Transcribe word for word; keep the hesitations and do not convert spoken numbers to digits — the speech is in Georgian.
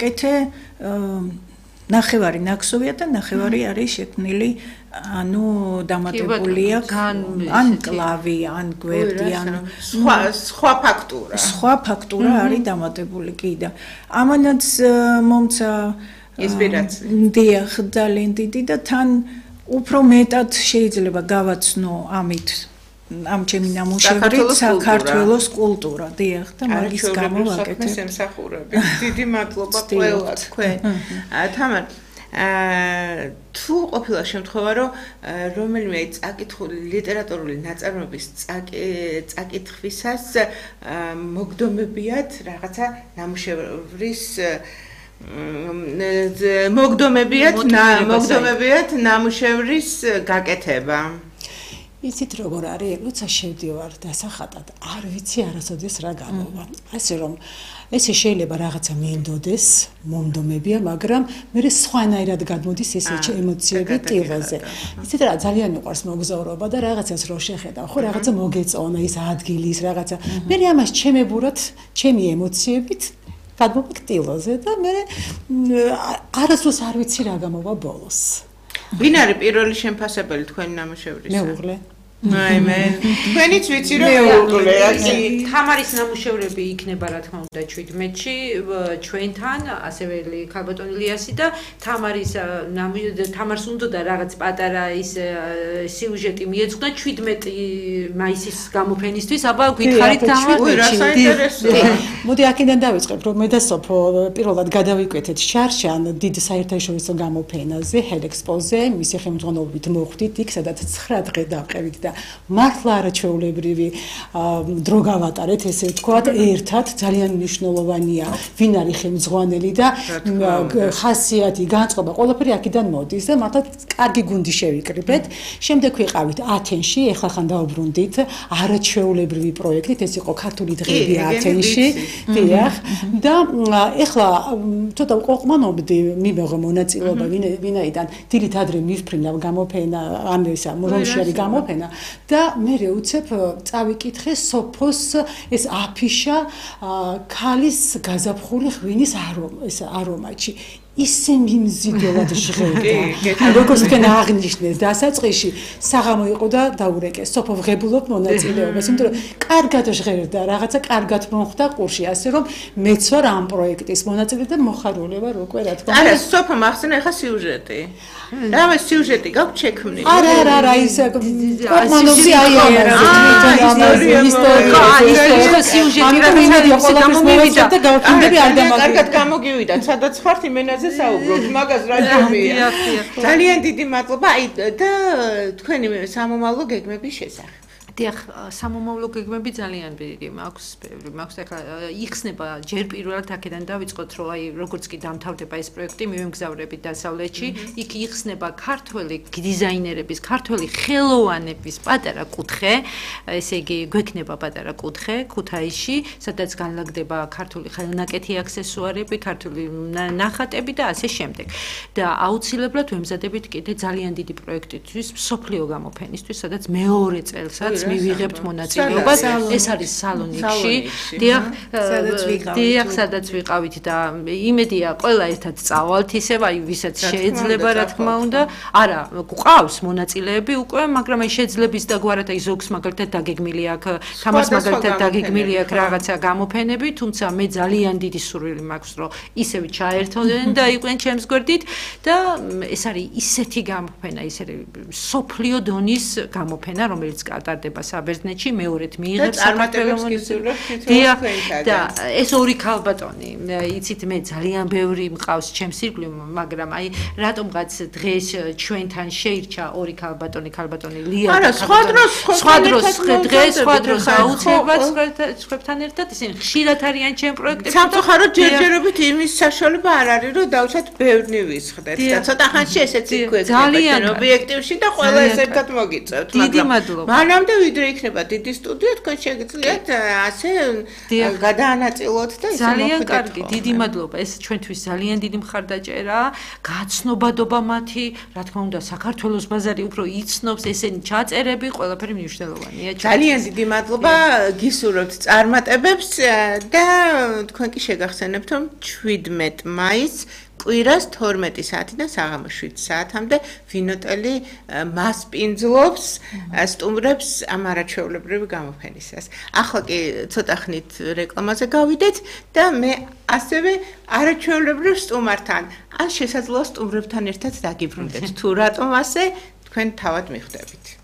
გავაკეთე ნახევარი ნაკსოვია და ნახევარი არის შექმნილი ანუ დამატებულია ან კლავი, ან გვერდი, ან სხვა სხვა ფაქტურა. სხვა ფაქტურა არის დამატებული კი და ამანაც მომცა ინსპირაცია. დიახ, ძალიან დიდი და თან უფრო მეტად შეიძლება გავაცნო ამით ამ ჩემი ნამუშევრით საქართველოს კულტურა, დიახ და მაგის გამო ვაკეთებ. დიდი მადლობა ყველა თქვენ. თამარ თუ ყოფილა შემთხვევა რომ რომელიმე წაკითხული ლიტერატურული ნაწარმოების წაკითხვისას მოგდომებიათ რაღაცა ნამუშევრის მოგდომებიათ მოგდომებიათ ნამუშევრის გაკეთება. იცით როგორ არის, როცა შევდივარ დასახატად, არ ვიცი არასოდეს რა გამოვა. ასე რომ ესე შეიძლება რაღაცა მინდოდეს, მომდომებია, მაგრამ მე სხვანაირად გადმოდის ეს ემოციები ტილოზე. იცით რა, ძალიან მიყვარს მოგზაურობა და რაღაცას რო შეხედავ, ხო რაღაცა მოგეწონა ის ადგილის რაღაცა. მე ამას ჩემებურად, ჩემი ემოციებით გადმოვიქ ტილოზე და მე არასდროს არ ვიცი რა გამოვა ბოლოს. ვინ არის პირველი შემფასებელი თქვენი ნამუშევრისა? მეუღლე. აი მე თქვენიც ვიცი რომ მეუღლე აკი თამარის ნამუშევრები იქნება რა თქმა უნდა ჩვიდმეტში ჩვენთან ასევე ქალბატონი ლიასი და თამარის თამარს უნდა რაღაც პატარა ის სიუჟეტი მიეძღვნა ჩვიდმეტი მაისის გამოფენისთვის აბა გითხარით თამარ რა საინტერესოა მოდი აქედან დავიწყებ რომ მე და სოფო პირველად გადავიკვეთეთ შარშან დიდ საერთაშორისო გამოფენაზე ჰელექსპოზე მისი ხელმძღვანელობით მოხვდით იქ სადაც ცხრა დღე დავყევით და მართლა არაჩვეულებრივი დრო გავატარეთ ესე ვთქვათ ერთად ძალიან მნიშვნელოვანია ვინ არის ხელმძღვანელი და ხასიათი განწყობა ყველაფერი აქედან მოდის და მართლა კარგი გუნდი შევიკრიბეთ შემდეგ ვიყავით ათენში ეხლა ხან დავუბრუნდით არაჩვეულებრივი პროექტით ეს იყო ქართული დღეები ათენში დიახ და ეხლა ცოტა ყოყმანობდი მიმეღო მონაწილეობა ვინაიდან დილით ადრე მივფრინავ გამოფენა ან ისა რომში არის გამოფენა და მე უცებ წავიკითხე სოფოს ეს აფიშა ქალის გაზაფხული ღვინის არომატში ისე მიმზიდველად ჟღერდა როგორც თქვენ აღნიშნეთ დასაწყისში საღამო იყო და დაურეკეს სოფო ვღებულობ მონაწილეობას იმიტომ რომ კარგად ჟღერდა რაღაცა კარგად მოხდა ყურში ასე რომ მეც ვარ ამ პროექტის მონაწილე და მოხარული ვარ უკვე რა თქმა უნდა არა სოფო მახსენე ახლა სიუჟეტი რა სიუჟეტი გაქვთ შექმნილი არა არა არა ის კოპმანოვი აი ამაზე სიუჟეტი რა გამომივიდა და გავქინდები არ დამაგრდა კარგად გამოგივიდა სადაც ხართ იმენაზე საუბრობთ მაგას რა ჯობია ძალიან დიდი მადლობა აი და თქვენი სამომავლო გეგმების შესახებ დიახ სამომავლო გეგმები ძალიან დიდი მაქვს ბევრი მაქვს ახლა იხსნება ჯერ პირველად აქედან დავიწყოთ რომ აი როგორც კი დამთავრდება ეს პროექტი მივემგზავრებით დასავლეთში იქ იხსნება ქართველი დიზაინერების ქართველი ხელოვანების პატარა კუთხე ესე იგი გვექნება პატარა კუთხე ქუთაისში სადაც განლაგდება ქართული ხელნაკეთი აქსესუარები ქართული ნახატები და ასე შემდეგ და აუცილებლად ვემზადებით კიდე ძალიან დიდი პროექტისთვის მსოფლიო გამოფენისთვის სადაც მეორე წელსაც მივიღებთ მონაწილეობას ეს არის სალონიკში დიახ დიახ სადაც ვიყავით და იმედია ყველა ერთად წავალთ ისევ აი ვისაც შეიძლება რა თქმა უნდა არა გვყავს მონაწილეები უკვე მაგრამ აი შეძლების და გვარად აი ზოგს მაგალითად დაგეგმილი აქვს თამარს მაგალითად დაგეგმილი აქვს რაღაცა გამოფენები თუმცა მე ძალიან დიდი სურვილი მაქვს რომ ისევ ჩაერთოდნენ და იყვნენ ჩემს გვერდით და ეს არის ისეთი გამოფენა ისეთი სოფლიო დონის გამოფენა რომელიც კატარდება საბერძნეთში მეორედ მიიღებს წარმატებებს გისურვებთ და ეს ორი ქალბატონი იცით მე ძალიან ბევრი მყავს ჩემს ირგვლივ მაგრამ აი რატომღაც დღეს ჩვენთან შეირჩა ორი ქალბატონი ქალბატონი ლია არა სხვა დროს სხვა დროს დღეს სხვა დროს აუცილებლად სხვებთან ერთად ისინი ხშირად არიან ჩემ პროექტებში სამწუხაროდ ჯერჯერობით იმის საშუალება არ არის რომ დავუშვათ ბევრი ვისხდეთ და ცოტა ხანში ესეც იქვე ძალიან ობიექტივში და ყველა ეს ერთად მოგიწევთ დიდი მადლობა მანამდე ვიდრე იქნება დიდი სტუდია, თქვენ შეგიძლიათ ასე გადაანაწილოთ და ისე ძალიან კარგი, დიდი მადლობა. ეს ჩვენთვის ძალიან დიდი მხარდაჭერაა. გაცნობადობა მათი, რა თქმა უნდა, საქართველოს ბაზარი უფრო იცნობს, ესენი ჩაწერები, ყველაფერი მნიშვნელოვანია. ძალიან დიდი მადლობა, გისურვებთ წარმატებებს და თქვენ კი შეგახსენებთ, რომ შვიდმეტ მაისს კვირას თორმეტი საათიდან საღამოს შვიდ საათამდე ვინოტელი მასპინძლობს, სტუმრებს ამ არაჩვეულებრივი გამოფენისას. ახლა კი ცოტა ხნით რეკლამაზე გავიდეთ და მე ასევე არაჩვეულებრივ სტუმართან, ან შესაძლოა სტუმრებთან ერთად დაგიბრუნდეთ. თუ რატომ ასე, თქვენ თავად მიხვდებით.